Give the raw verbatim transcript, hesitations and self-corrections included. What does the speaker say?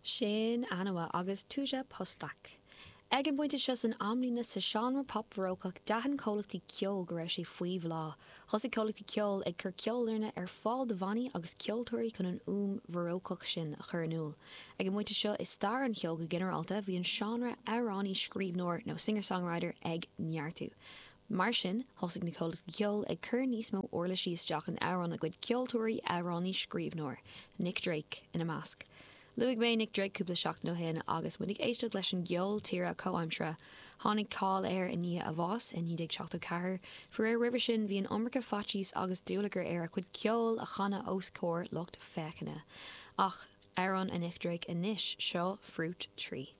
Sin Anua agus Tuja Pustak. Ag an bpointe seo san amlíne sa seánra pop bharócach d'aithin comhlachtaí ceoil go raibh sé faoi bhláth. Thosaigh comhlachtaí ceoil ag cur ceolfhoirne ar fáil do bhannaí agus ceoltóirí chun an fhuaim bharócach sin a chur in iúl. Ag an bpointe seo i stair an cheoil go ginearálta bhí an seánra amhránaí scríbhneoir nó singer-songwriter ag neartú. Mar sin thosaigh na comhlachtaí ceoil ag cur níos mó uirlisí isteach in amhráin a gcuid ceoltóirí amhránaí scríbhneoir, Nick Drake ina measc. Luaigh mé Nick Drake cúpla seachtain ó shin agus muid ag éisteacht leis an gceol tíre comhaimseartha. Tháinig cáil air i ndiaidh a bháis i naoi déag seachtó ceathair, Faraor roimhe sin bhí an iomarca faitíos agus dúlagar air a chuid ceoil a chanadh os comhair lucht féachana. Ach amhrán a Nick Drake anois seo Fruit Tree.